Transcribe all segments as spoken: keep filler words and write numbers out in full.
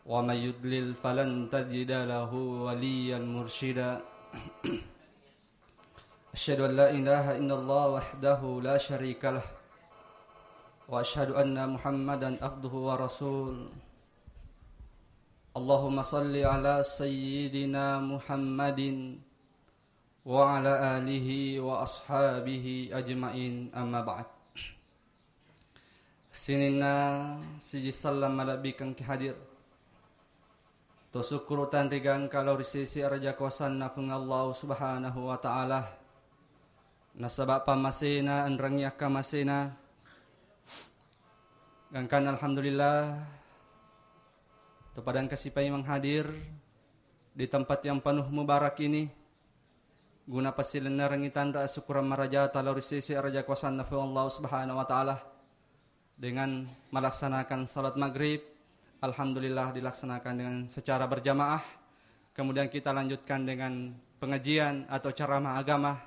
ومن يضلل فلن تجد له وليا مرشدا. أشهد أن لا إله إلا الله وحده لا شريك له، وأشهد أن محمدا عبده ورسوله. اللهم صل على سيدنا محمد وعلى آله وأصحابه أجمعين، أما بعد. Sininna siji sallang malebbi engka hadir. To sukkuru tanri gangka lao ri sisi araja kuasanna Puang Allah Subhanahu wa Ta'ala. Nasaba pammasena enrengngi akkamasena. Gangkanna alhamdulillah, to pada engka sipaimeng hadir di tempat yang penuh mubarak ini, guna pasilennerengngi tanra asukkurang marajata lao ri sisi araja kuasanna Puang Allah Subhanahu wa Ta'ala. Dengan melaksanakan salat maghrib, alhamdulillah dilaksanakan dengan secara berjamaah. Kemudian kita lanjutkan dengan pengajian atau ceramah agama.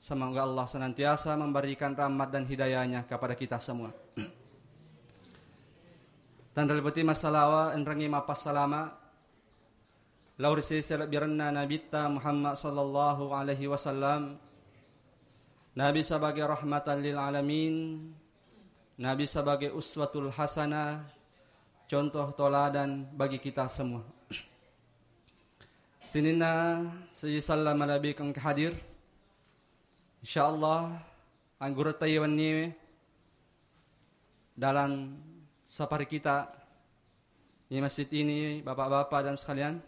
Semoga Allah senantiasa memberikan rahmat dan hidayahnya kepada kita semua. Tanra liputi massalawa, enrengngi mappassalama lao ri sese lebbirenna Nabitta Muhammad sallallahu alaihi wasallam. Nabi sebagai rahmatan lil alamin, Nabi sebagai uswatul hasanah, contoh toladan bagi kita semua. Sininna siji sallang malebbi engka hadir. Insyaallah, anggurutta wenniwe dalam safari kita di masjid ini, bapak-bapak dan sekalian,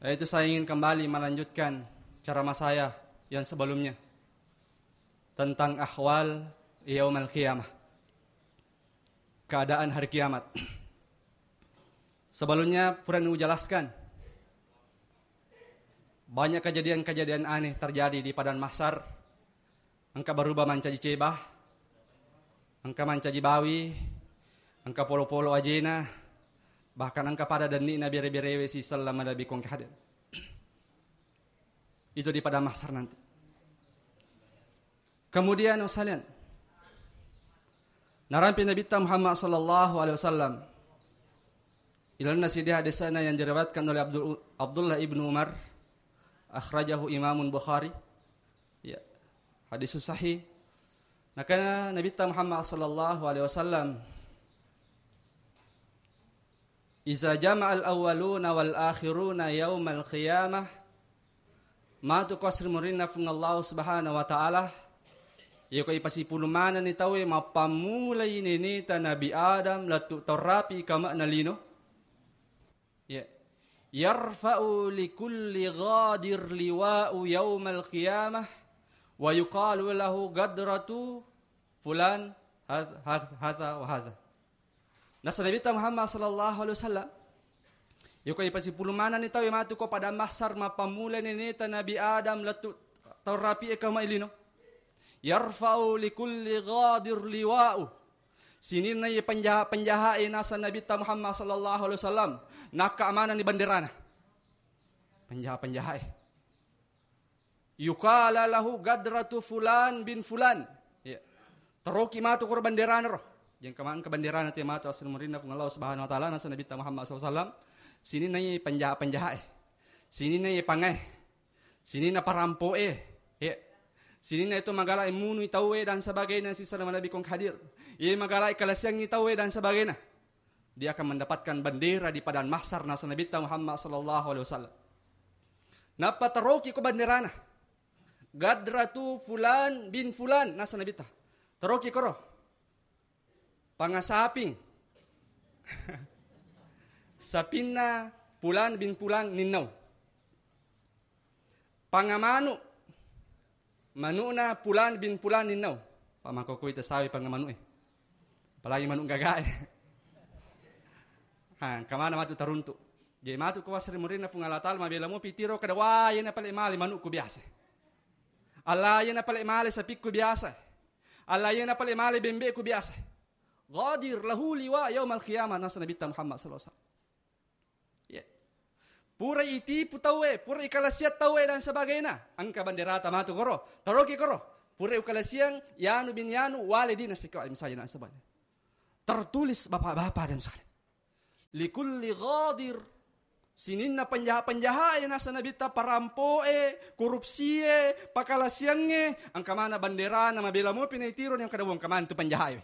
yaitu saya ingin kembali melanjutkan ceramah saya yang sebelumnya tentang ahwal yaumal qiyamah, keadaan hari kiamat. Sebelumnya pura ujelaskan, banyak kejadian-kejadian aneh terjadi di padang mahsyar. Engka berubah mancaji ceba, engka mancaji bawi, engka polo-polo ajena, bahkan engka pada denni'na bere-berewe siselleng malebbi engka hadir. Itu di padang mahsyar nanti. Kemudian, sekalian, narampe Nabitta Muhammad sallallahu alaihi wasallam, ilalenna siddi hadisna yang diriwayatkan oleh Abdul, Abdullah ibnu Umar, akhrajahu Imamun Bukhari. Ya, hadis sahih. Nakana Nabitta Muhammad sallallahu alaihi wasallam, "Iza jama'al awwaluna wal akhiruna yaumal qiyamah." Matu ko asri murinna Puang Allah Subhanahu wa Ta'ala, yako ipasipulung manenni tauwe mappammulai neneta Nabi Adam lettu tau rapi kama'na lino. Ya. "Yarfa'u li kulli ghadir liwa'u yaumal qiyamah wa yuqalu lahu gadratu fulan haz-, haz-, haza wa haza." Nasa Nabitta Muhammad sallallahu alaihi wasallam, yako ipasipulung manenni tauwe matu ko padang mahsyar mappammula neneta Nabi Adam lettu tau rapi e kama ilino. "Yarfa'u li kulli ghadir liwa'u." Sininna iye penjaha-penjaha e nasa Nabitta Muhammad sallallahu alaihi wasallam, nakka manenni benderana. Penjaha-penjaha e. "Yuqala lahu gadratu fulan bin fulan." Ya. Taroki matu koro benderana ro. Jengka mangka benderana te matu asli murinna Puang Allah Subhanahu wa Ta'ala nasa Nabitta Muhammad sallallahu alaihi wasallam. Sininna iye penjaha-penjaha e. Sininna iye pangae. Sininna parampo'e, ya. Sininna itu magala e munui tauwe dan sebagainya, sisana malebbi kong hadir. Iye magala e kalasiangi tauwe dan sebagainya. Dia akan mendapatkan bendera di padang mahsyar nasa Nabitta Muhammad sallallahu alaihi wasallam. Nappa taroki ko benderana. "Gadratu fulan bin fulan," nasa Nabitta. Taroki koro. Pangasaping. Sapinna Pulan bin Pulan ninnau. Pangamanu. Manukna Pulan bin Pulan ninnau. Pamakokoi tasawi pangamanu e. Apalagi manu gaga e. Ha, engka maneng matu taruntu. Jadi matu ko asri murinna Puang Allah Ta'ala mabela mopi tiro kada, "Wah, iyena pale male manukku biasa. Allah, iyena pale male sapikku biasa. Allah, iyena pale male bembe'ku biasa." Ghadir lahu liwa yaumal qiyamah, nasa Nabitta Muhammad sallallahu alaihi wasallam. Ya. Pura itipu tauwe, pura ikalasiang tauwe dan sebagainya. Engka benderata matu koro, taroki koro. Pura ikalasiang yanu bin yanu, wale dina sikawa misalnya dan sebagainya. Tertulis bapak-bapak dan sekalian. Likulli ghadir. Sininna penjaha-penjahae nasa Nabitta, parampoe, korupsie, pakalasiangnge, engka mana banderana mabela mopi naitiro ni engka dawong engka mana tu penjahae.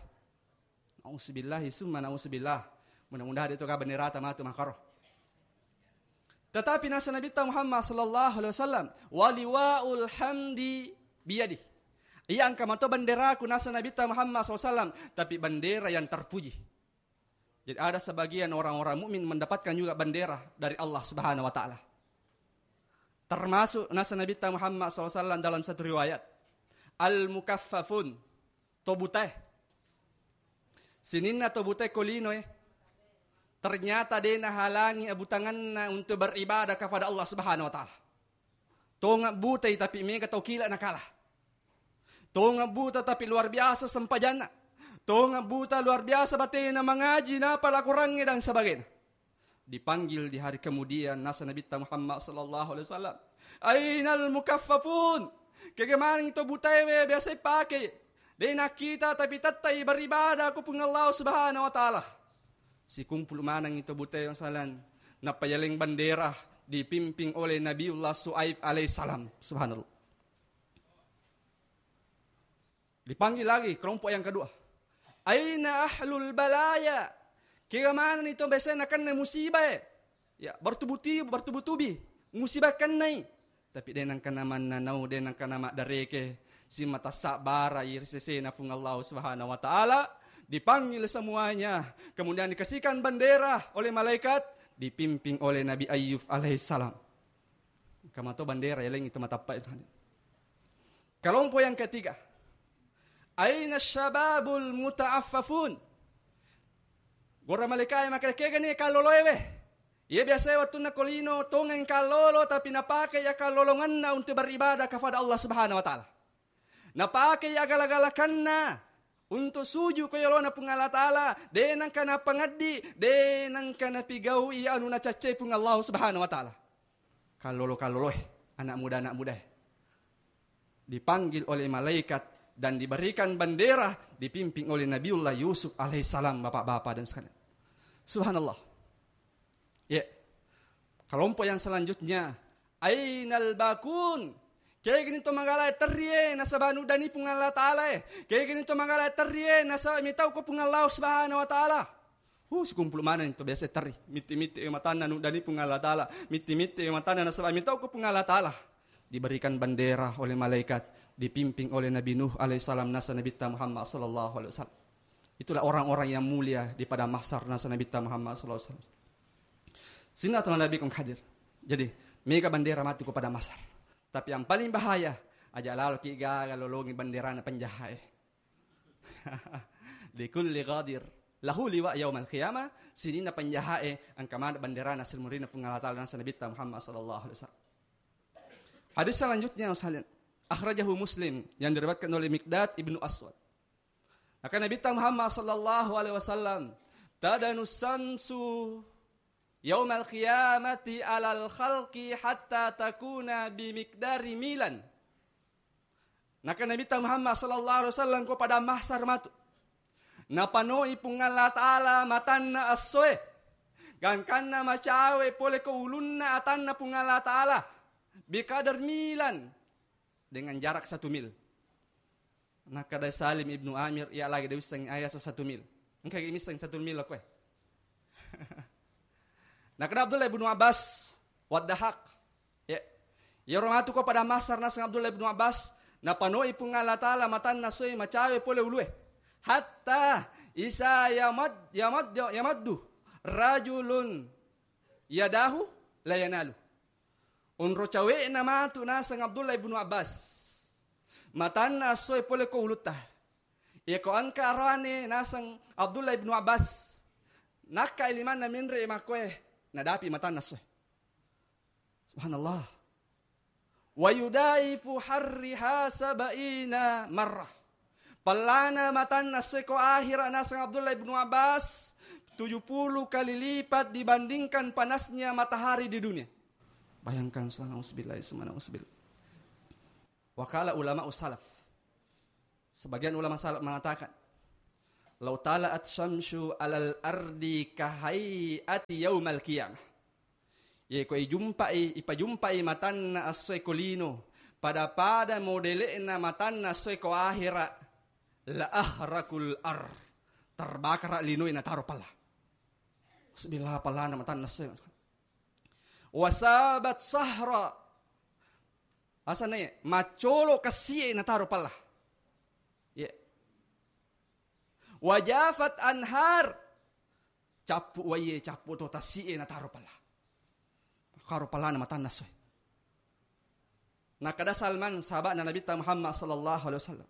Nauzubillahi summa nauzubillah. Mudah-mudahan itu ka banderata matu makaro. Tetapi nasa Nabitta Muhammad sallallahu alaihi wasallam, "Waliwaul hamdi biyadi." Iya engka mato benderaku nasa Nabitta Muhammad sallallahu alaihi wasallam, tapi bendera yang terpuji. Jadi ada sebagian orang-orang mukmin mendapatkan juga bendera dari Allah Subhanahu wa taala. Termasuk nasa Nabitta Muhammad sallallahu alaihi wasallam dalam satu riwayat, "Al-mukaffafun." To butae. Sininna to butae ko linoe, ternyata de nahalangi abutanganna untuk beribadah kepada Allah Subhanahu wa taala. Tonga butai tapi mega tau kila nakala. Tonga buta tapi luar biasa sempajanna. Tonga buta luar biasa batena mangaji napa lakorangnge dan sebagainya. Dipanggil di hari kemudian nasa Nabitta Muhammad sallallahu alaihi wasallam, "Ainal mukaffafun?" Kega maneng to butaewe biasa ipake? De nakkita tapi tettai beribadah ku Puang Allah Subhanahu wa taala. Sikumpul maneng to butaewe salan, nappa yaleng bendera dipimping oleh Nabiullah Suaif alaihissalam. Subhanallah. Dipanggil lagi kelompok yang kedua. "Aina ahlul balaya?" Kega maneng to biasa nakenna musibah e? Ya, bertubi-tubi, bertubi-tubi musibah kennai. Tapi de nengka namannanau, de nengka namaddareke, simata sabbarai ri sesena Puang Allah Subhanahu wa taala, dipanggil semuanya, kemudian dikasihkan bendera oleh malaikat, dipimping oleh Nabi Ayub alaihissalam. Engka mato bendera yaleng itu matappa itu. Kelompok yang ketiga, "Aina syababul muta'affafun?" Gora malaikae makkeda, "Kegani kalloloe we?" Iya biasa wettunna ko lino tongeng kallolo, tapi napake iya kallolongenna untuk beribadah kepada Allah Subhanahu wa taala. Napake iya gala-galakanna untuk sujud ko yolona Puang Allah Taala, de nengka napangeddi, de nengka napigau iya anu nacaccai Puang Allah Subhanahu wa Taala. Kallolo-kalloloe, anak muda-anak mudae. Dipanggil oleh malaikat dan diberikan bendera, dipimpin oleh Nabiullah Yusuf alaihissalam, bapak-bapak dan sekalian. Subhanallah. Ya. Kelompok yang selanjutnya, "Ainal bakun?" Kegani to magala terrie nasaba nuddani Puang Allah Taala e. Kegani to magala terrie nasaba mitau ko Puang Allah Subhanahu wa Taala. Huh, sikumpul maneng to biasa terri. Mitti-mitti matanna nuddani Puang Allah Taala. Mitti-mitti matanna nasaba mitau ko Puang Allah Taala. Diberikan bendera oleh malaikat, dipimpin oleh Nabi Nuh alaihissalam nasa Nabitta Muhammad sallallahu alaihi wasallam. Itulah orang-orang yang mulia di padang mahsyar nasa Nabitta Muhammad sallallahu alaihi wasallam. Sininna teman Nabi kong hadir. Jadi, mega bendera matu ko padang mahsyar. Tapi yang paling bahaya, aja lalo ki gaga lolongi benderana penjahae. Likulli ghadir lahu liwa yaumal qiyamah, sininna penjahae engka maneng benderana sirmurina Puang Allah Taala nasa Nabitta Muhammad sallallahu alaihi wasallam. Hadis selanjutnya, sekalian, akhrajahu Muslim, yang diriwayatkan oleh Miqdad ibnu Aswad. Maka Nabitta Muhammad sallallahu alaihi wasallam, "Tadanu samsu yaumal qiyamati alal khalqi hatta takuna bimiqdari milan." Naka Nabitta Muhammad sallallahu alaihi wasallam ko padang mahsyar matu. Napanoi Puang Allah Taala matanna essoe. Gangkanna macawe pole ko ulunna atanna Puang Allah Taala. Bikadar milan. Dengan jarak satu mil. Nakkeda Salim ibnu Amir, iya lagi de wissengngi aga satu mil. Engka gi misseng satu mil koe. Nakkeda Abdullah ibnu Abbas, waddahak. Ya. Iyaro matu ko padang mahsyar naseng Abdullah ibnu Abbas, napanoi Puang Allah Taala matanna essoe macawe pole ulue. Hatta isa yamad-, yamad-, yamaddu rajulun yadahu la yanalu. Onro cawe'na matu naseng Abdullah ibnu Abbas. Matanna essoe pole ko ulutta. Iya ko engka arane naseng Abdullah ibnu Abbas. Nakkai limanna menre makkoe, nadapi matanna essoe. Subhanallah. Wa yudaifu harriha sabaina marrah. Pellana matanna essoe ko ahira naseng Abdullah ibnu Abbas, tujuh puluh kali lipat dibandingkan panasnya matahari di dunia. Bayangkan, subhanallah, auzubillah, subhanallah, auzubillah. Wa qala ulama salaf. Sebagian ulama salaf mengatakan, "Lau tala'at syamsu alal ardi kahai'ati yaumal qiyamah." Ye ko ijumpai, ipajumpai matanna essoe ko lino, pada-pada modele'na matanna essoe ko ahera, la ahrakul ar, terbakara linoe nataro palla. Bismillah, pallana matanna essoe. Wasabat sahra, asana ye, maccolo kassie nataro palla. Ye. Wajafat anhar, cappu waie, cappu to tassie nataro palla. Karo pallana matanna essoe. Nakada Salman, sahaba'na Nabitta Muhammad sallallahu alaihi wasallam,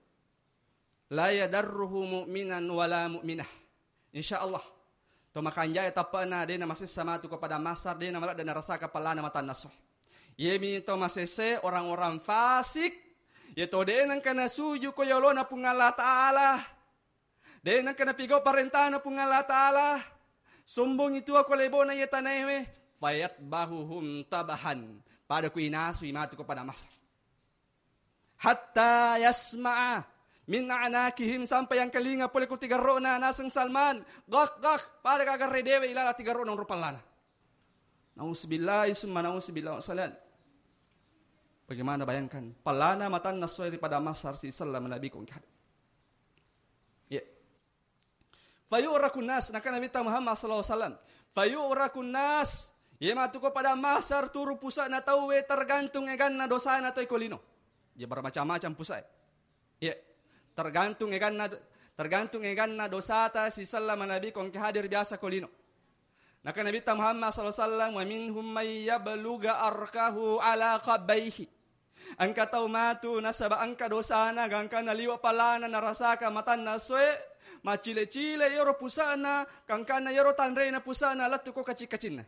"La yadarruhu mu'minan wala mu'minah." Insya Allah, to makanjaya tappa'na de namasessa matu ko padang mahsyar, de namaladde narasaka pallana matanna essoe. Yemi to masesse orang-orang fasik, ye to de nengka nasuju ko yolona Puang Allah Ta'ala. De nengka napigau parentana Puang Allah Ta'ala. Sombongi tuo ko lebona iye tanaewe. Fayatbahuhum tabahan. Pada ku inasui matu ko padang mahsyar. Hatta yasma'a min a'naqihim, sampai engkalinga pole ku tigarrona naseng Salman. Gak, gak. Pada gaga redewe ilala tigarrona onro pallana. Nauzubillahi summa nauzubillah. Wassalam. Bagaimana bayangkan? Pallana matanna essoe ri padang mahsyar sisella manabi ko engka. Iya. Fayu'rakun nas, nakana Nabitta Muhammad sallallahu alaihi wasallam. Fayu'rakun nas. Ye matu ko padang mahsyar turu pusa'na tauwe tergantung eganna dosana toi ko lino. Ye bermacam-macam pusa'e. Iya. Tergantung eganna, tergantung eganna dosata sisella manabi ko engka hadir biasa ko lino. Nakana Nabitta Muhammad sallallahu alaihi wasallam, "Wa minhum may yablugha arkahu ala khabbaihi." Engka tau matu nasaba engka dosana, gangkanna liwa pallana narasaka matanna essoe, macile-cile yoro pusa'na, gangkanna yoro tanrena pusa'na lettu ko kacing-kacinna.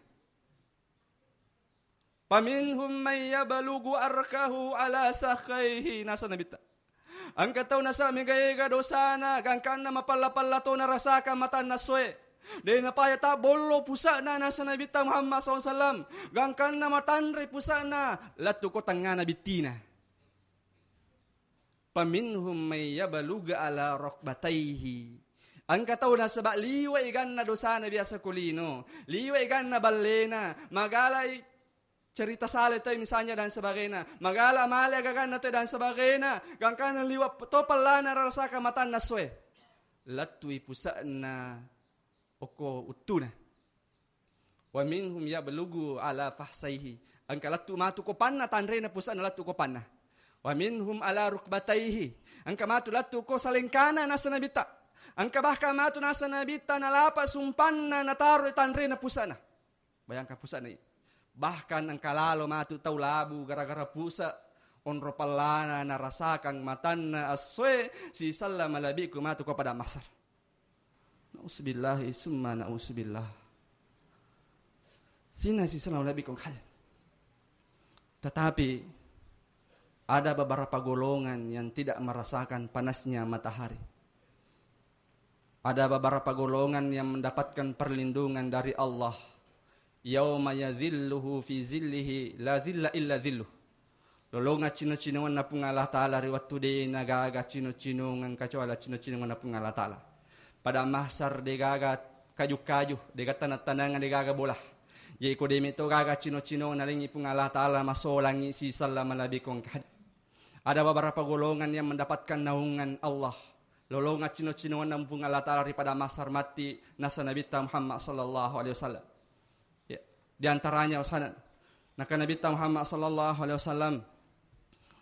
Faminhum may yablughu arkahu ala sakhaihi, nasa Nabitta. Engka tau nasa mega-ega dosana, gangkanna mapalla-palla to narasaka matanna essoe. De napaya tabbollo pusa'na, nasa Nabitta Muhammad sallallahu alaihi wasallam. Gangkanna matanre pusa'na, lettu ko tengngana bittina. Faminhum may yablughu ala rukbataihi. Engka tau nasaba liwa eganna dosana biasa ko lino, liwa eganna ballena, magalai cerita sala toi misalnya dan sebagainya, magala male agaganna toi dan sebagainya, gangkanna liwa to pallana rarasaka matanna essoe. Lettui pusa'na okko uttuna. Wa minhum yablughu ala fakhsaihi. Engka lettu matu ko panna, tanrena pusa'na lettu ko panna. Wa minhum ala rukbataihi. Engka matu lettu ko salengkana, nasa Nabitta. Engka bahkan matu, nasa Nabitta, nalapa sumpanna nataro tanrena pusa'na. Bayangkan pusa'na i. Bahkan engka lalo matu tau labu gara-gara pusa' onro pallana narasakang matanna essoe sisella malebbiku matu ko padang mahsyar. Nauzubillahi summa nauzubillah. Sina sisala lebbi kong hal. Tetapi ada beberapa golongan yang tidak merasakan panasnya matahari. Ada beberapa golongan yang mendapatkan perlindungan dari Allah. Yauma yazilluhu fi zillihi la zilla illa zilluh. Lolonga cino-cinongenna Puang Allah Ta'ala ri wettu de' nagaga cino-cinongeng kecuali cino-cinongenna Puang Allah Ta'ala. Padang mahsyar de' gaga kaju-kaju, de' gaga taneng-tanengan, de' gaga bola. Jadi ko de' meto gaga cino-cinongeng nalengi Puang Allah Ta'ala masolangi sisella malebbi kong kad. Ada beberapa golongan yang mendapatkan naungan Allah. Lolonga cino-cinongenna Puang Allah Ta'ala ri padang mahsyar matti nasa Nabitta Muhammad sallallahu alaihi wasallam. Ya, di antaranya wasana. Naka Nabitta Muhammad sallallahu alaihi wasallam,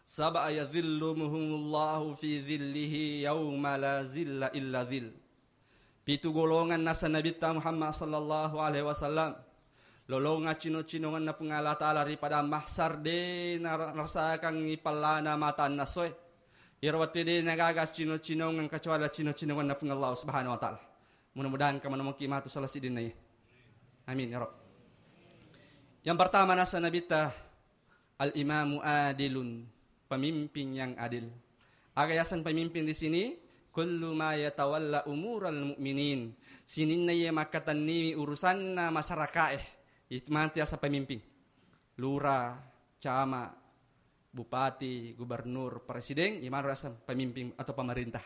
"Sab'a yazilluhumullahu fi zillihi yauma la zilla illa zill." Pitu golongan nasa Nabitta Muhammad sallallahu alaihi wasallam. Lolonga cino-cinongenna Puang Allah Ta'ala ri padang mahsyar de' nar-, narasakang i pallana matanna essoe. Iyaro wettu de' nagaga cino-cinongeng kecuali cino-cinongenna Puang Allah Subhanahu wa Ta'ala. Mudah-mudahan engka manamoki matu salah siddinna iya. Amin ya Rabb. Yang pertama nasa Nabitta, al-imamu adilun, pemimpin yang adil. Aga yaseng pemimpin di sini? Kullu ma yatawalla umural mu'minin. Sininna iya makkatenniwi urusanna masyarakae. Itu matu yaseng pemimpin. Lura, camat, bupati, gubernur, presiden, imanro yaseng pemimpin atau pemerintah.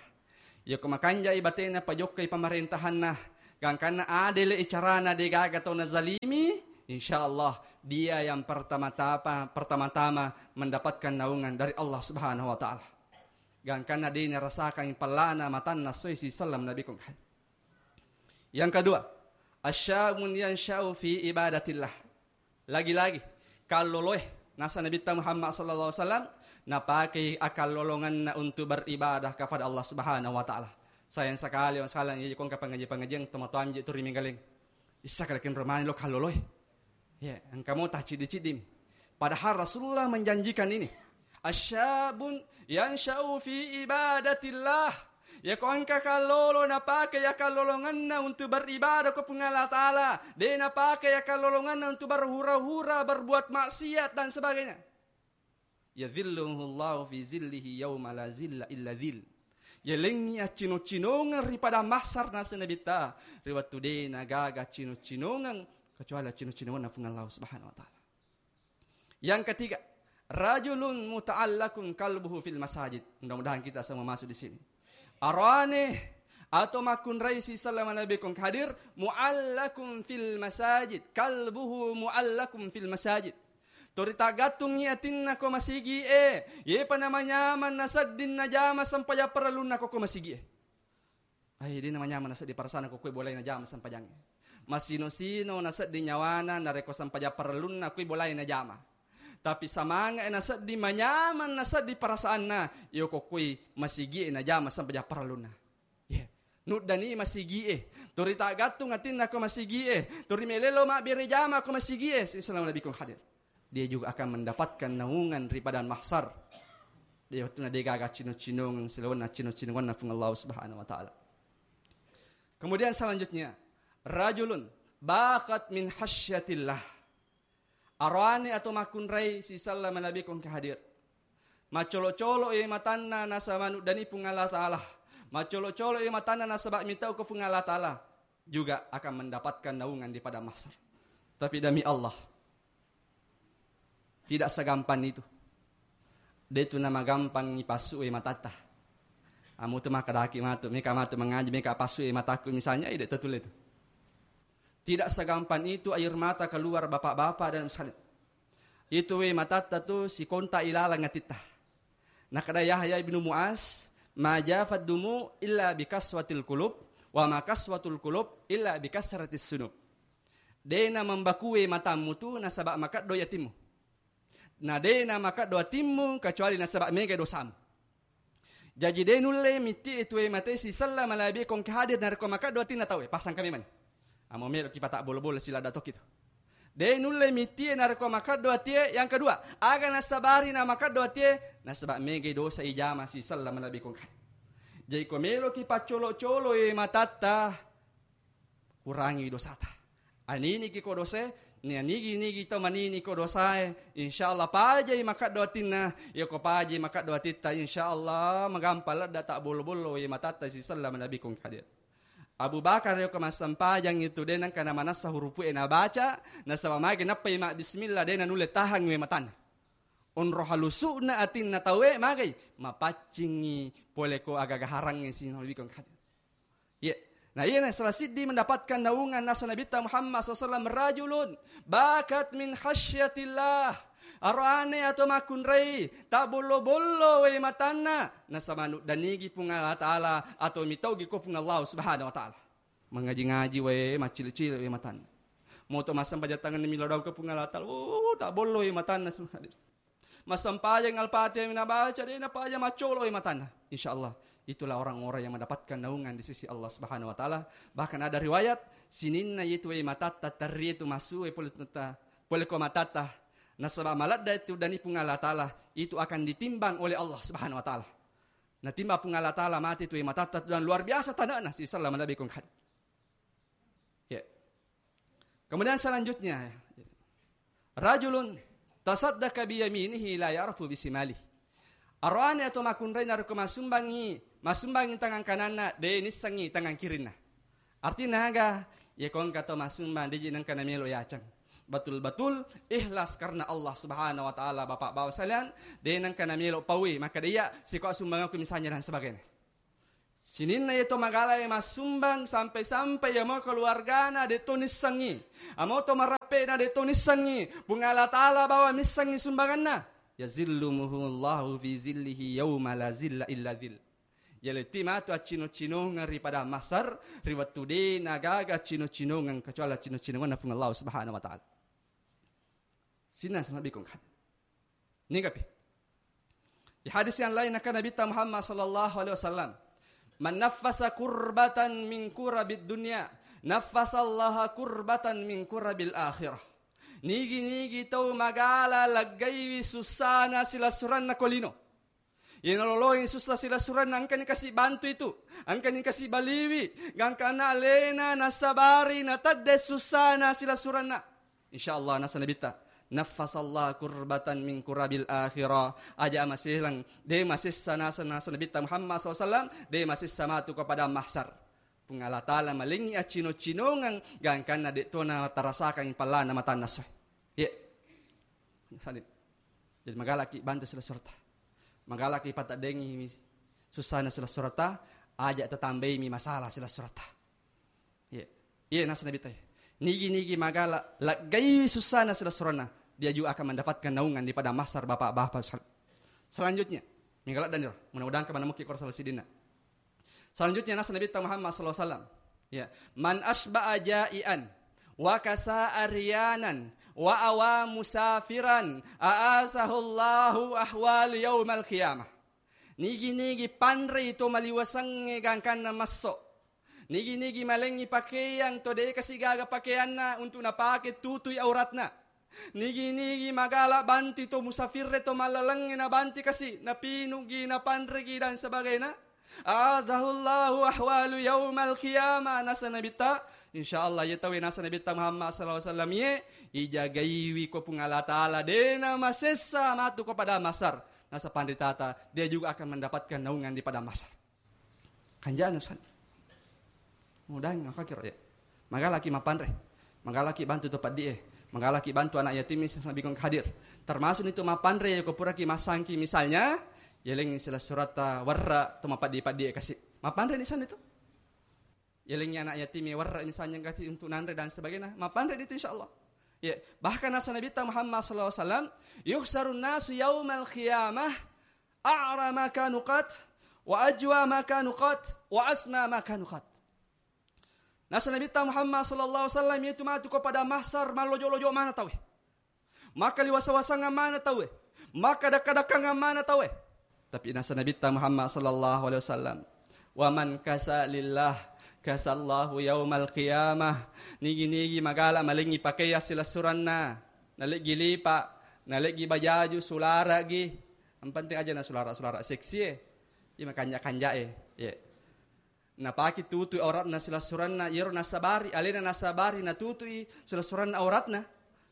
Yako makanjai batena pajokkai pemerintahanna, gangkanna adele carana, degaga tau nazalimi, insya Allah dia yang pertama-tama, pertama-tama mendapatkan naungan dari Allah Subhanahu wa Ta'ala. Gangkanna de narasakan pallana matanna soi sisallam Nabi kong. Yang kedua, asyabun yansya'u fi ibadatillah. Lagi-lagi, kalloloe, nasa Nabitta Muhammad sallallahu alaihi wasallam, napakai akallolonganna untuk beribadah kepada Allah Subhanahu wa Ta'ala. Sayang sekali, orang sekalian, iya, kong ke pengajian-pengajian, tomatoa amje tu ri Menggaleng. Issa kada kenro mani lo kalloloe. Ya, engka mo taciddi-ciddimi. Padahal Rasulullah menjanjikan ini. Asyabun yansya'u fi ibadatillah. Yako engka kallolo napake ya kallolonganna untuk beribadah ko Puang Allah Ta'ala. De napake ya kallolonganna untuk berhura-hura, berbuat maksiat dan sebagainya. Yadhilluhullahu fi zillihi yauma la zilla illa zil. Yalengngi accino-cinongeng ri padang mahsar nasa Nabitta. Ri wettu de nagaga accino-cinongeng kecuali accino-cinongenna Puang Allah Subhanahu wa Ta'ala. Yang ketiga, rajulun muta'allakun qalbuhu fil masajid. Mudah-mudahan kita semua masuk di sini. Arane atau makkunrai sisallama Nabi kong hadir, mu'allakun fil masajid, qalbuhu mu'allakun fil masajid. Tori tagattungngi atinna ko masigi e, yepa namanyamang nasedding najama sempajang parellunna ko, ko masigi e. Ai, de namanyamang nasedding parasana ko koe bolai najama sempajangnge. Masino-sino nasedding nyawana narekko sempajang parellunna koe bolai najama. Tapi samanga e nasedding manyamang nasedding perasaanna, iyo ko koe masigi e najama sempajang parellunna. Iya. Nuddani masigi e. Tori tagattung atinna ko masigi e. Tori melelo mabbere jama ko masigi e. Sisallama Nabi kong hadir. Dia juga akan mendapatkan naungan ri padang mahsar. Dia wettunna de gaga cino-cinongeng silawanna cino-cinongenna Puang Allah Subhanahu wa Ta'ala. Kemudian selanjutnya, rajulun bakat min khasyatillah. Aroane atau makkunrai sisallama Nabi kong ke hadir. Macolo-colo e matanna nasaba nuddani Puang Allah Ta'ala. Macolo-colo e matanna nasaba mitau ko Puang Allah Ta'ala. Juga akan mendapatkan naungan di padang mahsar. Tapi demi Allah, tidak segampang itu. De tu namagampang ipassu e matatta. Amu tu makadaki matu, meka matu mangaji, meka passu e mataku misalnya, ide tetule tu. Tidak segampang itu air mata keluar bapak-bapak dan sekalian. Itu we matatta tu sikonta ilalang atitta. Nakada Yahya ibnu Muaz, ma jafat dumu illa bikaswatil kulub, wa ma kaswatul kulub illa bikasratis sunub. Dena mambakue matammu tu nasaba makeddo yatimmu. Na dena makeddo atimmu kecuali nasaba mega dosamu. Jaji de nulle mitti e tue mate sisella malabi kongke hadir narekko makeddo atinna tauwe, pasang kami mani. Amo melo ki pata bolo-bolo siladda tokki tu. De nulle mitti e narekko makeddo atie. Yang kedua, aga nasabari na makeddo atie, nasaba mega dosa ijama sisella malabi kongke hadir. Jaji ko melo ki paccolo-colo e matatta, kurangi dosata. Aniniki ko dosae, ni anigi-nigi to manini ko dosae, insyaallah pajai makeddo atinna, iya ko pajai makeddo atitta, insyaallah magampang ladda ta bollo-bollo ye matatta sisella malabi kongke hadir. Abu Bakar yoko massempajang itu de nengka namanessa hurupu e nabaca, nasaba magi nappai ma bismillah de nanulle tahang we matanna. Onro halusu'na atinna tauwe magai, mapaccingi pole ko aga-aga harangnge sisella malabi kongke hadir. Iya. Nah, iya, nah, salah siddi mendapatkan naungan nasa Nabitta Muhammad sallallahu alaihi wasallam, rajulun bakat min khasyatillah. Aroane atau makkunrai, ta bollo-bollo we matanna, nasaba nuddanigi Puang Allah Ta'ala atau mitaugi ko Puang Allah Subhanahu wa Ta'ala. Mangaji-ngaji we, maccili-cili we matanna. Moto massempajang tangenna milo daung ke Puang Allah Ta'ala, oh, ta bollo we matanna, subhanallah. Massempajang Al-Fatihah nabaca, de napaja maccolo e matanna. Insyaallah, itulah orang-orang yang mendapatkan naungan di sisi Allah Subhanahu wa Ta'ala. Bahkan ada riwayat, sininna itu e matatta terri itu massu e pole tutta, pole ko matatta. Nasaba maladda itu dani Puang Allah Ta'ala, itu akan ditimbang oleh Allah Subhanahu wa Ta'ala. Natimbang Puang Allah Ta'ala mate tu e matatta dan luar biasa tanana sisella malabi kongke hadir. Ya. Kemudian selanjutnya, rajulun tasaddaqa biyaminihi la ya'rifu bisimalihi. Aroane atau makkunrai narekko massumbangi, massumbangi tangan kananna, de nissengi tangan kirinna. Artinya aga? Iya ko engka tau massumbang, de ji nengka namelo yaceng. Betul-betul ikhlas karena Allah Subhanahu wa Ta'ala, Bapak Bapak sekalian, de nengka namelo paui, maka de iya siko sumbangku misalnya dan sebagainya. Sininna iye to magala e massumbang sampai-sampai iyamo keluargana de to nissengngi. Amo to marappe'na de to nissengngi. Puang Allah Ta'ala bawa missengngi sumbanganna. Yazilluhumullahu fi zillihi yauma la zilla illa zill. Yaletti matu accino-cinongeng ri padang mahsar, ri wettu de nagaga accino-cinongeng kecuali accino-cinongenna Puang Allah Subhanahu wa Ta'ala. Sininna sanabikong kan. Nigapi. Di hadis yang lain akan Nabi Muhammad sallallahu alaihi wasallam, "Man naffasa kurbatan min kurabid dunya, naffasallaha kurbatan min kurabil akhirah." Nigi-nigi tau magala laggaiwi sussana silessurenna ko lino. Iyana lolongi sussa silessurenna, engkani kasi bantu itu, engkani kasi baliwi, gangkanna alena nasabari natedde sussana silessurenna. Insyaallah, nasa Nabitta, "Naffasallah kurbatan min kurabil akhirah." Aja maselang, de masessa nasa, nasa Nabitta Muhammad sallallahu alaihi wasallam, de masessa matu kepada mahsar. Puang Allah Ta'ala malengngi accino-cinongeng, gangkanna de tona tarasakangngi pallana matanna soe. Iya. Salin. Jadi magalaki bantu silessuretta. Magalaki pataddengi sussana silessuretta, aja tatambaimi masalah silessuretta. Iya. Iya, nasa Nabitta. Nigi-nigi magala laggaiwi sussana silessurenna, dia juga akan mendapatkan naungan di padang mahsar, bapak-bapak. Sel-, selanjutnya, mingga laddaniro, mudah-mudahan kemana mungkin kurasa sidina. Selanjutnya nasa Nabitta Muhammad sallallahu alaihi wasallam. Ya, "Man asba'a ja'ian wa kasa aryanan wa awa musafiran a'azahullahu ahwal yaumal qiyamah." Nigi-nigi panrei to maliwasengnge gangkanna masso. Nigi-nigi malengngi pakeang to de kasi gaga pakeanna untuk napake tutui auratna. Nigi-nigi magala bantu to musafirre to mallalengnge nabanti kasi, napinuggi, napanregi dan sebagainya. A'adzahullahu ahwalu yaumal qiyamah, nasa Nabitta. Insyaallah, iye tauwe nasa Nabitta Muhammad sallallahu alaihi wasallam iye, ijagaiwi ko Puang Allah Ta'ala, dena masessa matu ko padang mahsar. Nasa panritata, dia juga akan mendapatkan naungan di padang mahsar. Kanjana, Ustaz. Mudahan aku kira, ya. Magalaki mapanre. Magalaki bantu to paddie. Magalaki bantu anak yatim, nabi kong hadir. Termasuk itu mapanre, ya, ko puraki masangki misalnya, yeleng silessuretta warra to mapaddi-paddie kasi. Mapanre di sana itu. Yeleng anak yatim warra misalnya kasi untuk nanre dan sebagainya. Mapanre itu insyaallah. Ya, bahkan nasa Nabitta Muhammad sallallahu alaihi wasallam, "Yuhsarun nasu yaumal qiyamah a'ra ma kanu qat, wa ajwa ma kanu qat, wa asna ma kanu qat." Nasa Nabitta Muhammad sallallahu alaihi wasallam itu matu ko padang mahsar mallojo-lojo mana tauwe. Maka liwasa-wasangan mana tauwe. Maka dakka-dakkangan mana tauwe. Tapi nasa Nabitta Muhammad sallallahu alaihi wasallam, "Wa man kasa lillah, kasallahu yaumal qiyamah." Nigi-nigi magala malengngi pakeang silessurenna, naleggi lipa, naleggi bajaju sularagi. Yang penting aja na sulara-sulara seksi e. Iya makanja-kanja e. Iya. Napaki tutui auratna silessurenna, iyaro nasabari, alena nasabari natutui silessurenna auratna.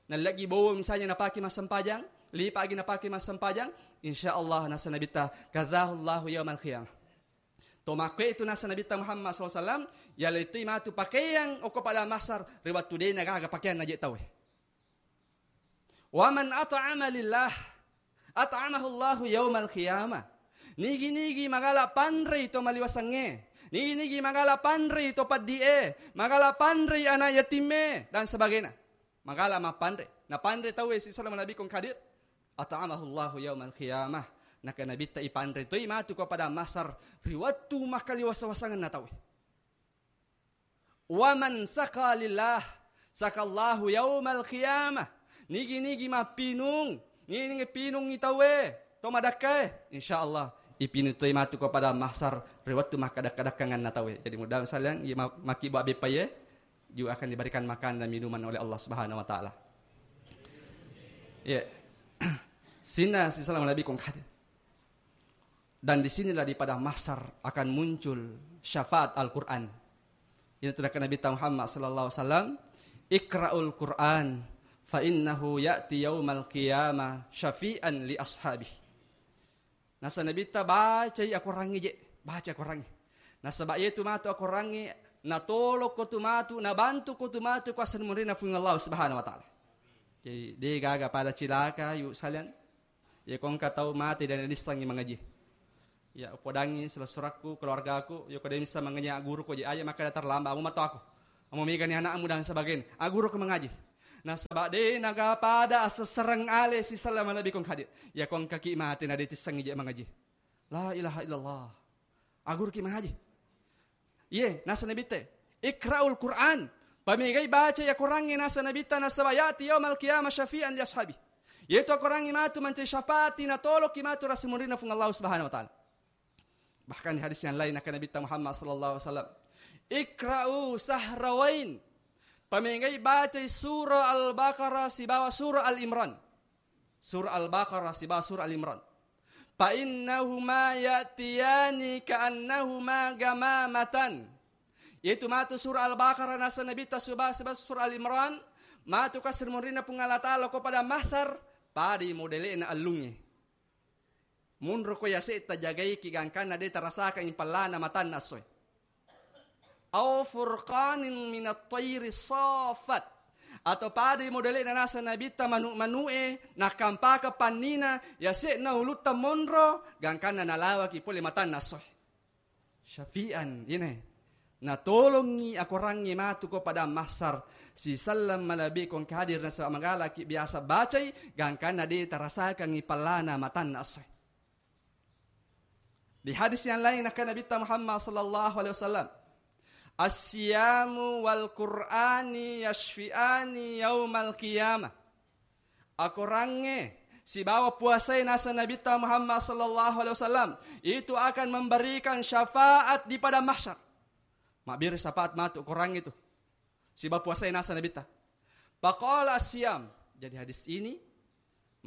Nalleggi bowo misalnya napaki massempajang, lipa agi napaki massempajang, insyaallah nasa Nabitta, kazahullahu yaumal qiyamah. To makkue itu nasa Nabitta Muhammad sallallahu alaihi wasallam, yalettui matu pakeang okko padang mahsar, ri wettu de nagaga pakeang naje tauwe. "Wa man at'ama lillah, at'amahullahu yaumal qiyamah." Nigi-nigi magala panrei to maliwasengnge, nigi-nigi magala panrei to paddie, magala panrei anak yatimme dan sebagainya. Magala mapanre, napanre tauwe sisala nabi kong hadir. At'amahullahu yaumal qiyamah. Naka Nabitta ipanre toi matu ko padang mahsar ri wettu makkaliwasa-wasangenna tauwe. "Wa man saqa lillah, saqallahu yaumal qiyamah." Nigi-nigi mappinung, nigi-nigi pinungngi tauwe, to madakkae, insyaallah ipinung toi matu ko padang mahsar ri wettu makkadakka-dakkanganna tauwe. Jadi mudah-mudahan iya ma-, makkibba beppae juga akan diberikan makanan dan minuman oleh Allah Subhanahu wa Ta'ala. Iya. Sininna sisala nabi kong hadir. Dan di sinilah di padang mahsar akan muncul syafaat Al-Quran. Ini tuh Nabi Muhammad sallallahu alaihi wasallam, "Iqra'ul Quran fa innahu ya'ti yaumal qiyamah syafi'an li ashabih." Nasa Nabitta, "Bacai akorangnge je, baca akorangnge. Nasaba iyetu matu akorangnge natolokko tu matu, nabantuko tu matu ko asenna murinna Puang Allah Subhanahu wa Ta'ala." Jadi de gaga pada cilaka yu salian. Iya ko engka tau mate dan nissengngi mangaji. Ya, upodangi sila-surakku, keluargaku, yoko de missa mangaji, aguru ko je, aja makkeda terlambat, amo mato aku. Amo megani anakmu dan sebagainya. Aguru ko mangaji. Nasaba de naga pada asessereng ale sisella malebbi kong hadir. Ya kong kaki mate na de tissengi je mangaji. La ilaha illallah. Aguru ki mangaji. Iye, nasa Nabitta, "Iqra'ul Qur'an." Pamegai baca ya Korangnge, nasa Nabitta, nasaba ya'ti yaumal qiyamah syafi'an li ashabi. Yaitu Korangnge matu mancaji syafaat, natoloki matu rasimunrinna Puang Allah Subhanahu wa Ta'ala. Bahkan di hadis yang lain akan Nabitta Muhammad sallallahu alaihi wasallam, "Iqra'u sahrawain." Pamegai baca surah Al-Baqarah sibawa surah Al-Imran. Surah Al-Baqarah sibawa surah Al-Imran. "Fa innahuma ya'tiyani ka'annahuma gamamatan." Yaitu matu surah Al-Baqarah nasa Nabitta suba-, sibawa surah Al-Imran, matu ka sirmunrinna Puang Allah Ta'ala ko pada mahsar, padai modele'na ellungnge. Munro ko yase tajagaiki gangkanna de tarasakang pallana matanna essoe. Au furqanin minat thairi saffat. Atau padai modele'na nasa Nabitta manu-manu'e, nakampaka pannina, yase'na ulutta monro, gangkanna nalawaki pole matanna essoe. Syafi'an, ine. Natolongi akorangnge matu ko pada mahsar, siselleng malebbi kong hadir nasaba magalaki biasa bacai, gangkanna de tarasakangi pallana matanna essoe. Di hadis yang lain, akan Nabitta Muhammad sallallahu alaihi wasallam, "As-siyamu wal Qur'ani yashfi'ani yaumal qiyamah." Akorangnge sibawa puasae nasa Nabitta Muhammad sallallahu alaihi wasallam itu akan memberikan syafaat di padang mahsyar. Mabbere syafaat matu akorangnge itu. Sibawa puasae nasa Nabitta. Faqala as-siyam. Jadi hadis ini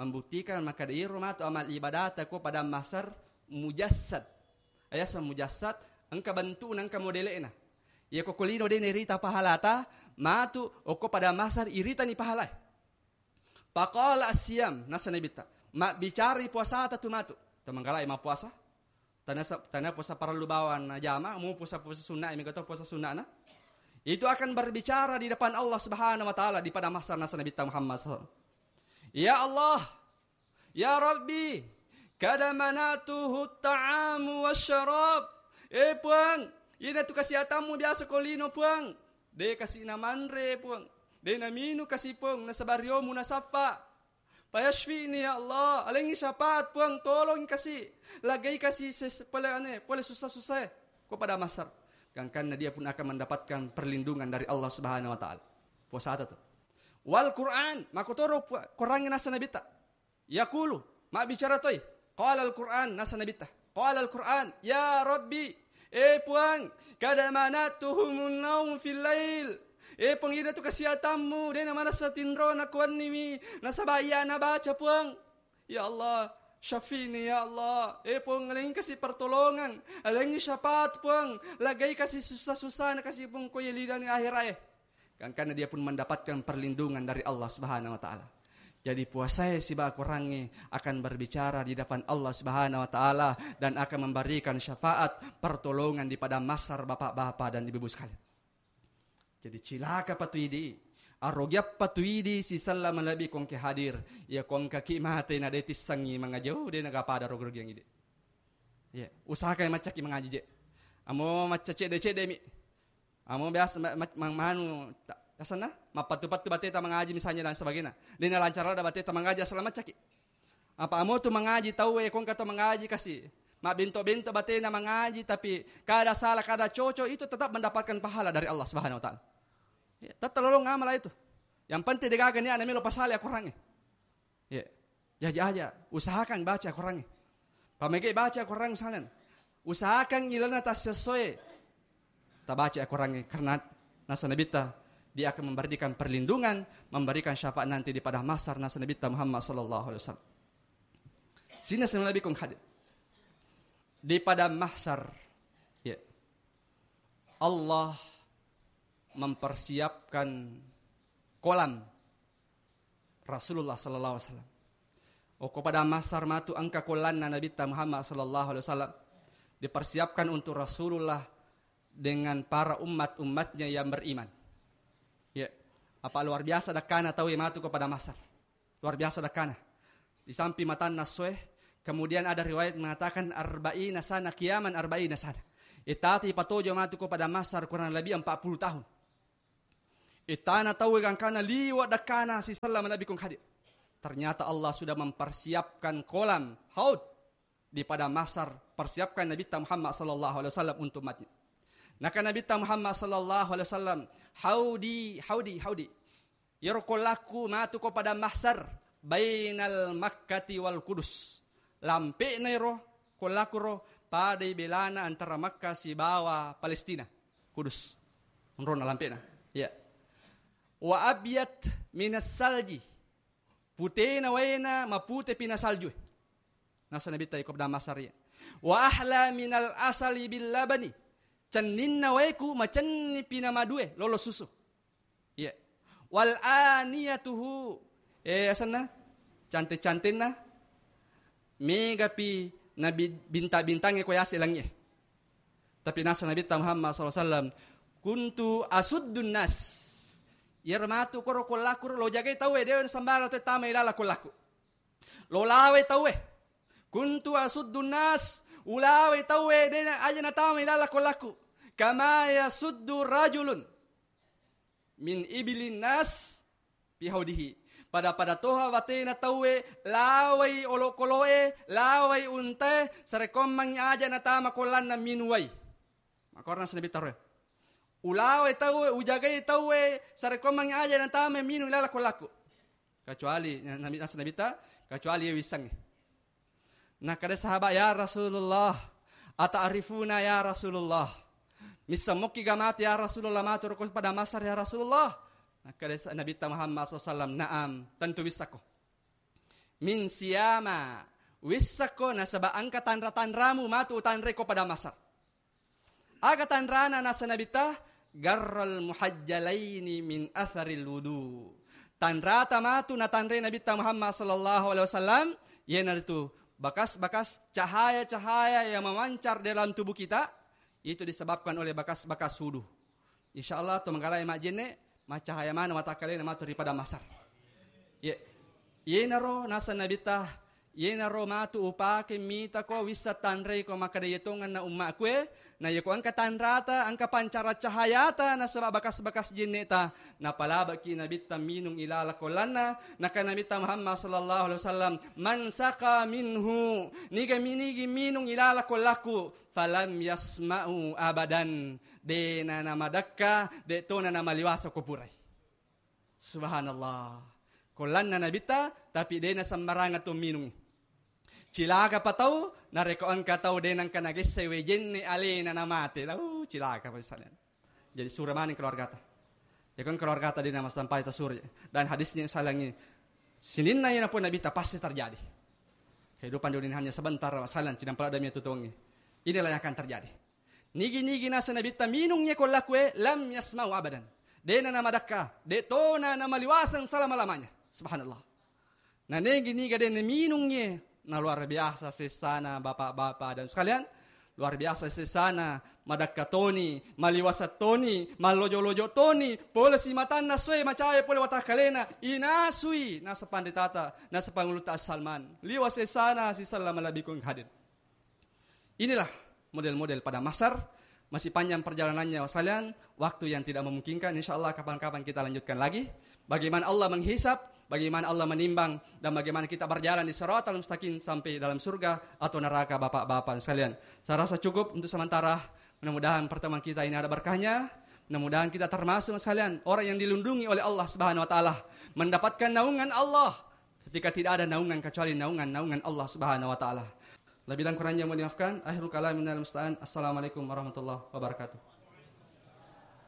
membuktikan makkeda iro matu amal ibadata ko pada mahsar mujassad. Ayasa mujassad, engka bentukna, engka modele'na. Iya ko kolino de nerita pahalata, matu okko pada mahsar iritani pahalae. Faqala as-siyam, nasa Nabitta, mabbicarai puasata tu matu. Tamanggalai mappuasa. Tana sa-, tana puasa parellu bawang najama, mu puasa-puasa sunnah, mega to puasa sunnahna. Itu akan berbicara di depan Allah Subhanahu wa Ta'ala di pada mahsar nasa Nabitta Muhammad sallallahu alaihi wasallam. Ya Allah, ya Rabbi, kada manatuhu ta'amu wasyarab. Eh Puang, ina tu kasiatammu biasa ko lino Puang. De kasi namanre Puang. De naminu kasi Puang, nasaba riomu nasaffa. Fayashfini ya Allah, alengi syafaat Puang, tolong kasi, lagai kasi ses-, pole ane, pole susah-susah ko pada mahsar. Gangkanna dia pun akan mendapatkan perlindungan dari Allah Subhanahu wa Ta'ala. Puasata tu. Wal Quran, makotoro pu-, Quran nasa Nabitta. Yaqulu, mabbicara toi. Qala al Quran, nasa Nabitta. Qala al Quran, ya Rabbi, eh Puang, kada manatuhumun naum fil lail. Eh Puang, ida tu kasiatammu, de namanessa tinrona kuanniwi, nasaba iya nabaca Puang. Ya Allah, syafini ya Allah. Eh Puang, alengi kasi pertolongan, alengi syafaat Puang, lagai kasi susah-susah na kasi Puang ko yelidani akhirat eh. Gangkanna dia pun mendapatkan perlindungan dari Allah Subhanahu wa Ta'ala. Jadi puasae sibawa Qurangnge akan berbicara di depan Allah Subhanahu wa Ta'ala dan akan memberikan syafaat pertolongan di padang mahsar, bapak-bapak dan ibu-ibu sekalian. Jadi cilaka patuidi, arogiappa tuidi sisella malebbi kongke hadir. Iya kongkaki mate na de tissengi mangaji, oh, de naga pada rogi-rogiang idi. Iya, usahakan maccaki mangaji je. Amo macca cedde-cedde mi. Amo biasa ma-, ma-, ma-, manu ta-, asenna mappattu-pattu bateta mangaji misalnya dan sebagainya. De nalancar ada bateta mangaji asal maccaki. Apa amo tu mangaji tauwe, kongka to mangaji kasi. Mabbento-bento batena mangaji, tapi kada salah, kada cocok, itu tetap mendapatkan pahala dari Allah Subhanahu wa Ta'ala. Ya, tetap lolong amal itu. Yang penting degaga niatna melo pasale akorangnge. Ya. Jaji aja, usahakan baca Korangnge. Pamege baca Korang misalnya, usahakan ilana tassessoe. Tabaca Korangnge, karena nasa Nabitta, dia akan memberikan perlindungan, memberikan syafaat nanti di padang mahsyar nasa Nabitta Muhammad sallallahu alaihi wasallam. Sini nasa Nabi kong hadir. Di padang mahsyar, ya, Allah mempersiapkan kolam Rasulullah sallallahu alaihi wasallam. Okko padang mahsyar matu engka kollanna Nabitta Muhammad sallallahu alaihi wasallam dipersiapkan untuk Rasulullah dengan para umat-umatnya yang beriman. Ya, apa luar biasa dakkana tau matu ko padang mahsyar. Luar biasa dakkana. Di samping matanna essoe, Kemudian ada riwayat mengatakan, "Arba'ina sana qiyaman, arba'ina sana." Ittati patojo matu ko padang mahsyar kurang lebih empat puluh tahun. Ittana tauwe gangkana liwa' dakkana sisellama Nabi kong hadir. Ternyata Allah sudah mempersiapkan kolam haud di padang mahsyar, persiapkan Nabitta Muhammad sallallahu alaihi wasallam untuk umatnya. Naka Nabitta Muhammad sallallahu alaihi wasallam, "Haudi, haudi, haudi." Iyaro kollakku matu ko padang mahsyar, bainal Makkati wal Kudus. Lampe'na iro kollakku ro, padai belana antara Makkah sibawa Palestina. Kudus. Onrona lampe'na. Ya. Wa abyad minas salji. Putena waena, mapute pina salju. Nasa Nabitta iko padang mahsyar iya. Wa ahla minal asali bil labani. Cenninna waeku macenni pina madue, lolo susu. Iya. Wal aniyatuhu. Eh, asenna? Cante-cantenna. Megapi nabi bintang-bintangnge ko yase langie. Tapi nasa Nabitta Muhammad sallallahu alaihi wasallam, "Kuntu asuddun nas." Iyaro matu koro kollakku ro, lo jagai tauwe, de' sembarang tauwe tama ilala kollakku. Lo lawe tauwe. "Kuntu asuddun nas." Ulawe tauwe, de' na-, aja natama ilala kollakku. "Kama yasuddu rajulun min ibilin nas fi haudihi." Pada-pada toha watena tauwe lawai olokoloe, lawai untae, sarekkoammengngi aja natama kollanna minung wai. Makkorana Nabitta ro. Ulawe tauwe, ujagai tauwe, sarekkoammengngi aja natama minung ilala kollakku. Kecuali, Nabi, nasa Nabitta, kecuali iya wissengnge. Nakkeda sahabat, "Ya Rasulullah, ata'rifuna ya Rasulullah? Misseng mokki ga matu ya Rasulullah, matu ro ko padang mahsyar ya Rasulullah?" Nakkeda sa-, Nabitta Muhammad sallallahu alaihi wasallam, "Na'am, tentu wissakko. Min siyama, wissakko nasaba engka tanra-tanramu matu utanreko padang mahsyar." Aga tanrana nasa Nabitta? "Garral muhajjalaini min atharil wudu." Tanrata matu natanre Nabitta Muhammad sallallahu alaihi wasallam, iyanaritu bakas-bakas cahaya-cahaya yang memancar dalam tubuh kita, itu disebabkan oleh bakas-bakas wudu. Insya Allah, to mangkalai majjenne, macahaya maneng watakkalena matu ri padang mahsyar. Ye, yenaro nasa Nabitta, yenaro matu upake mitako wissa tanrei ko makkeda yetongenna ummaku e, na yeko engka tanrata, engka pancara cahayata nasaba bakas-bakas jenneta, napalabeki Nabitta minung ilala kollanna, naka Nabitta Muhammad sallallahu alaihi wasallam, "Man saqa minhu," niga minigi minung ilala kollaku, "falam yasma'u abadan," de' na namadakka, de' tona namaliwasa ko purai. Subhanallah. Kollanna Nabitta, tapi de' na sembarang to minungi. Cilaka pa tau, narekko engka tau de' nengka nagessai wae jenne alena namate. Uh, cilaka pa salian. Jadi sure maneng keluargata. Ya kan keluargata de' na massampai tasure. Dan hadisnya salangi. Sininna iya napun Nabitta pasti terjadi. Kehidupan dunia ini hanya sebentar, salian, cinampa ada mi tutongi. Inilah yang akan terjadi. Nigi-nigi nasa Nabitta minung ye kollaku e, lam yasma'u abadan. De' na namadakka, de' tona namaliwaseng selama-lamanya. Subhanallah. Na nigi-niga de' na minung ye, na luar biasa sessana bapak-bapak dan sekalian. Luar biasa sessana, madakka toni, maliwasa toni, mallojo-lojo toni, pole simatanna soe macaya pole watakkalena, inasui nasa panritata, nasa panguluta Salman. Liwa sessana sisellama Nabi kong hadir. Inilah model-model padang mahsyar. Masih panjang perjalanannya, wasalian, waktu yang tidak memungkinkan. Insya Allah, kapan-kapan kita lanjutkan lagi. Bagaimana Allah menghisap, bagaimana Allah menimbang, dan bagaimana kita berjalan di siratal mustaqim sampai dalam surga atau neraka, bapak-bapak sekalian. Saya rasa cukup untuk sementara. Mudah-mudahan pertemuan kita ini ada berkahnya. Mudah-mudahan kita termasuk sekalian orang yang dilindungi oleh Allah Subhanahu wa Ta'ala, mendapatkan naungan Allah ketika tidak ada naungan kecuali naungan-naungan Allah Subhanahu wa Ta'ala. Lebih dan kurangnya mohon dimaafkan. Akhirul kalam, minal musta'an. Assalamualaikum warahmatullahi wabarakatuh.